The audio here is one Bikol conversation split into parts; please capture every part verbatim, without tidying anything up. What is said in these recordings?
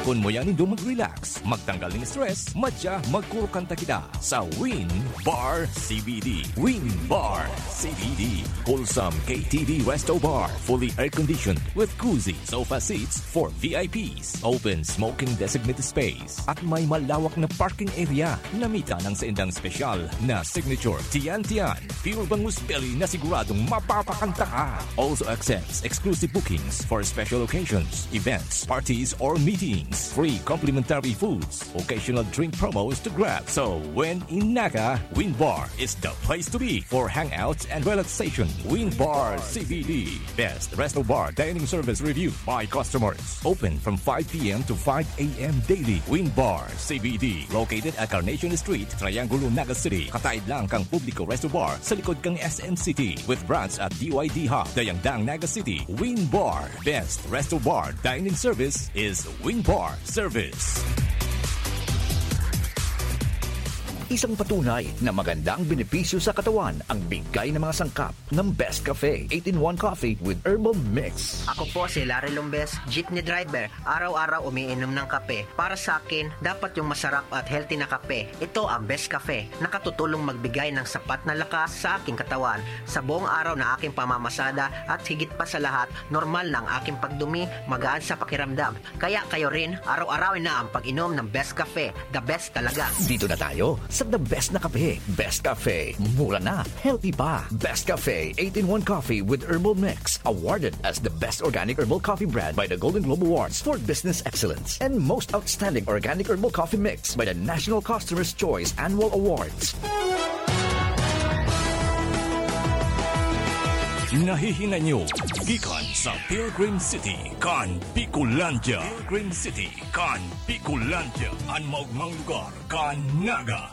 Kun muya nindo mag-relax, magtanggal ning stress, madya magkurukanta kita sa Win Bar C B D. Win Bar C B D. Wholesome K T V Resto Bar, fully air-conditioned with cozy sofa seats for V I Ps. Open smoking designated space at may malawak na parking area na mita ng saindang special na signature Tiyan Tiyan. Pure bangus belly na siguradong mapapakanta ka. Also accepts exclusive bookings for special occasions, events, parties, or meetings. Free complimentary foods, occasional drink promos to grab. So when in Naga, Win Bar is the place to be for hangouts and relaxation. Win Bar C B D, best resto bar dining service review by customers. Open from five p m to five a m daily. Win Bar C B D, located at Carnation Street, Triangulo, Naga City. Kataid lang kang Publico Resto Bar sa likod kang S M City, with branch at D Y D Hub, Dayangdang, Naga City. Win Bar, best resto bar dining service is Win Bar Service. Isang patunay na magandang benepisyo sa katawan ang bigay ng mga sangkap ng Best Cafe, eight-in-one Coffee with Herbal Mix. Ako po si Larry Lombes, jeepney driver. Araw-araw umiinom ng kape. Para sa akin, dapat yung masarap at healthy na kape. Ito ang Best Cafe. Nakatutulong magbigay ng sapat na lakas sa aking katawan. Sa buong araw na aking pamamasada at higit pa sa lahat, normal na ang aking pagdumi, magaan sa pakiramdam. Kaya kayo rin, araw-arawin na ang pag-inom ng Best Cafe. The best talaga. Dito na tayo sa the best na kape. Best Cafe. Mura na, healthy pa. Best Cafe, eight-in-one Coffee with Herbal Mix. Awarded as the best organic herbal coffee brand by the Golden Globe Awards for Business Excellence and most outstanding organic herbal coffee mix by the National Customer's Choice Annual Awards. Nahihinay nyo gikan sa Pilgrim City kan Bicolandia. Pilgrim City kan Bicolandia, an maogmang lugar kan Naga.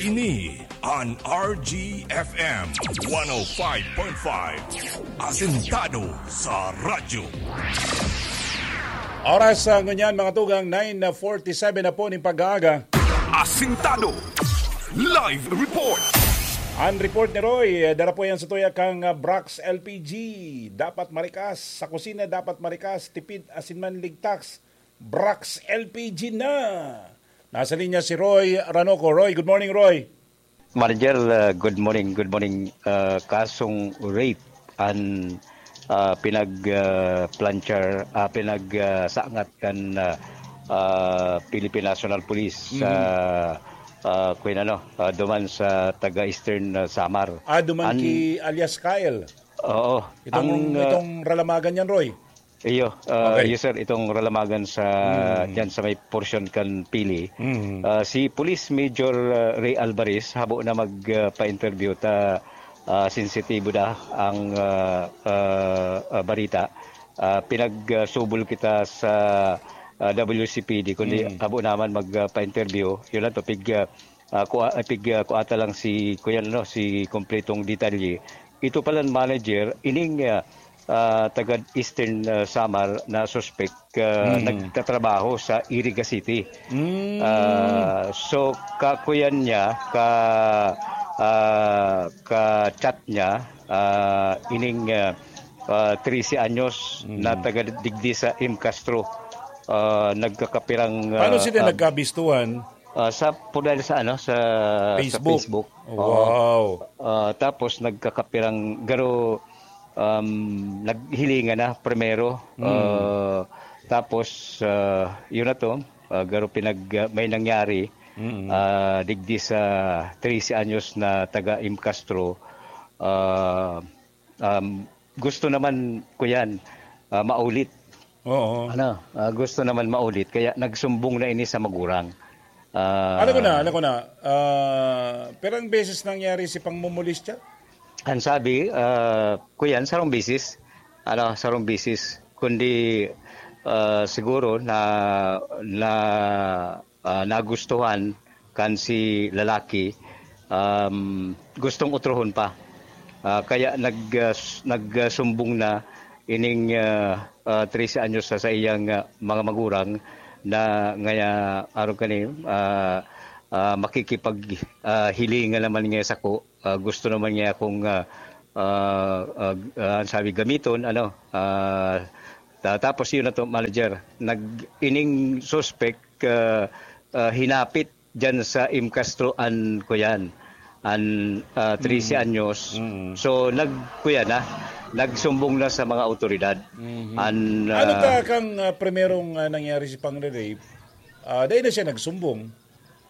Ini an R G F M one oh five point five, asentado sa radyo. Oras sa ngunyan, mga tugang, nine forty-seven na po ning pag-aaga. Asintado. Live report. Ang report ni Roy, dara po yan sa tuya kang, ah, Brax L P G. Dapat marikas. Sa kusina, dapat marikas. Tipid asin man ligtas. Brax L P G na. Nasa linya si Roy Ranoco. Roy, good morning, Roy. Manager, uh, good morning, good morning. Uh, kasong rape an, uh, pinag, uh, planchar, uh, pinag, uh, sangat kan, uh, uh, Philippine National Police sa, uh, kung ano, uh, duman sa taga Eastern, uh, Samar. Ah, duman An- ki alias Kyle. Oo. Itong, Ang, uh, itong ralamagan yan, Roy. Iyo, ah, Okay. iyo, sir, itong ralamagan sa, Mm. diyan sa may porsyon kan Pili. Mm. Ah, si Police Major, ah, Ray Alvarez, habo na mag, ah, pa-interview ta, ah, sensitibo na ang, ah, ah, ah, barita. Ah, pinagsubol kita sa, ah, W C P D, kundi Mm. habo naman mag, ah, pa-interview. Yun lang to, pig, ah, ah, kua-, ah, pig, ah, kuata lang si, kuya, ano, si kompletong detalye. Ito palang manager, ining, ah, ah, taga Eastern, ah, Samar na suspek, ah, Hmm. nagtatrabaho sa Iriga City. Hmm. Ah, so, kakuyan niya, ka, ah, ka-chat niya, ah, ining, ah, ah, trese anyos Hmm. na taga digdi sa M Castro, ah, nagkakapirang, Paano ah, sila ah, nagkabistuhan? Ah, sa, por dahil sa ano, sa, sa Facebook. Facebook. Oo. Wow. Ah, tapos nagkakapirang garo, um, naghilingan na primero. Hmm. Ah, tapos, ah, yun na to, ah, garo pinag-, ah, may nangyari, Mm. ah, digdi sa trese anyos na taga M Castro. Ah, um, gusto naman ko yan, ah, maulit. Oo. Ano, ah, gusto naman maulit, kaya nagsumbong na ini sa magurang. Ah, Alam ko na, alam ko na. Ah, pirang beses nangyari si pangmumulistya? Ang sabi, ah, kuyan, sarong beses. Ano, sarong beses. Kundi, ah, siguro na, na, ah, nagustuhan kan si lalaki, um, gustong utrohon pa. Ah, kaya nag-, ah, s-, nagsumbong na ining, ah, ah, trese anyos sa saiyang, ah, mga magurang na ngaya arog kani, ah, ah, makikipag, ah, hilingan naman niya sako. Ah, gusto naman niya akong, ah, ah, ah, ah, sabi, gamiton, ano, ah, Ta-, tapos yun na to, manager. Nag-, ining suspect, ah, ah, hinapit dyan sa M. Castro an, kuyan, an, ah, trese Mm. anyos. Mm. So, nag-, kuyan na, nagsumbong na sa mga awtoridad. Mhm. An, Ano ah, ta kang, ah, primerong, ah, nangyari si pangre-rape? Ah, dai na siya nagsumbong.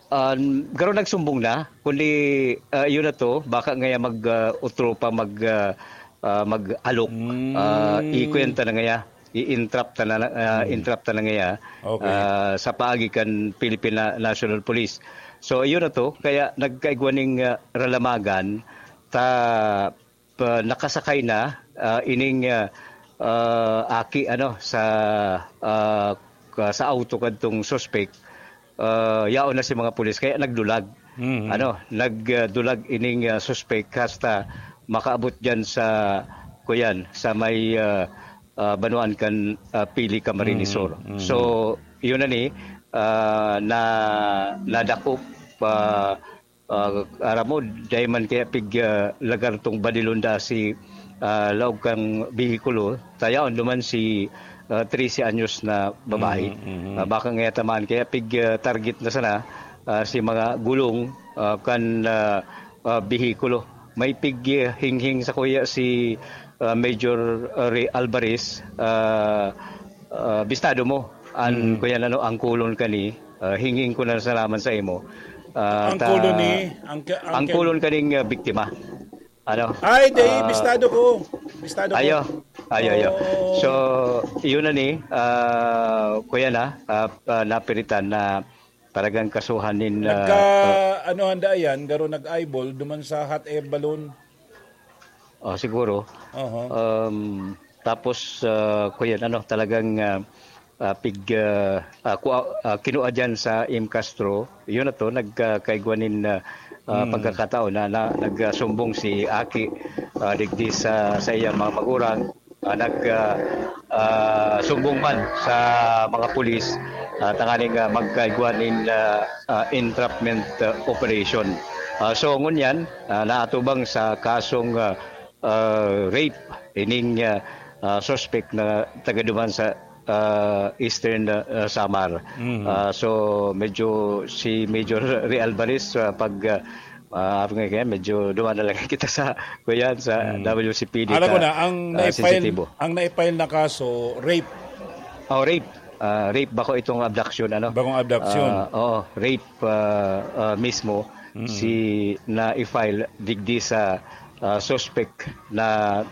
Ah, garo nagsumbong na, kundi, ah, yun na to, baka ngaya mag, ah, utro pa mag, ah, ah, mag-alok. Mm. Ah, ikwenta na ngaya, i-entrap ta na, ah, Mm. entrap ta na ngaya, Okay. ah, sa paagi kan Philippine Na-, National Police. So, yun na to, kaya nagkaigwa ning, ah, ralamagan, ta, pa, nakasakay na, ah, ining, ah, ah, aki, ano, sa, ah, ka-, sa auto kadtong suspect, ah, yaon na si mga pulis, kaya nagdulag. Mhm. Ano, nagdulag ining, ah, suspect hasta makaabot diyan sa, kuyan, sa may, ah, ah, banwaan kan, ah, Pili, Camarines Sur. Mhm, mhm. So, yun na ni, ah, na, nadakop, ah, ah, aram mo, dai man kaya pig, ah, lagar tong badilon da si, ah, laog kang behikulo, ta yaon duman si, ah, trese anyos na babae. Mhm, mhm. Ah, baka ngaya tamaan kaya pig, ah, target na sana, ah, si mga gulong, ah, kan, ah, ah, behikulo. May pig, ah, hinghing sa kuya si, ah, Major, ah, Ray Alvarez, ah, ah, bistado mo, an Mm. kuya nano, ang kulon kani, ah, hinghing ko na salaman sa imo. Ah, Ang ta-, kulon ni, ang ka-, ang ang ka- kulon kaning, ah, biktima. Ano? Ay, di, Ah, bistado ko. Bistado ko. ayo, ayo, ayo. Oo. So, yun na ni, ah, kuya na, ah, ah, napiritan na talagang kasuhan nin, ah, Nagka, ano, handa yan, garo nag-eyeball, duman sa hot air balloon. Oh, siguro. Oho. Um, tapos, ah, kuyan, ano, talagang, ah, ah, pig, ah, ah, kua-, ah, kinua dyan sa M. Castro. Yun na to, nagkakaigwa nin, ah, ah, Mm. pagkakataon na, na nagsumbong si Aki, ah, digdi sa, sa iyang mga magurang. Ah, nag, ah, ah, sumbong man sa mga pulis, ah, tanganing, ah, magkaigwa nin, ah, ah, entrapment, ah, operation. Ah, so, ngunyan, ah, naatubang sa kasong, ah, ah, rape ining, ah, ah, suspect na taga duman sa, ah, Eastern, ah, Samar. Mhm. Ah, so, medyo si Major Ray Alvarez, ah, pag, ah, ah, kaya medyo duman na lang kita sa, kuyan, sa Mhm. W C P D Alam ko ka, na, ang ah, naipile, sensitibo. ang naipile na kaso, rape. Oh, rape. Ah, rape, bako itong abduction, ano? Bakong abduction. Ah, oo, rape, ah, ah, mismo Mm. si na-file digdi sa, ah, suspect na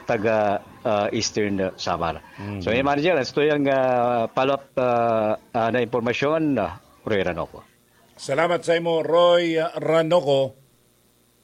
taga, ah, Eastern Samar. Mm. So, yan, manager, ito yung, ah, follow-up, ah, ah, na impormasyon, ah, Roy Ranoco. Salamat sa imo, Roy Ranoco.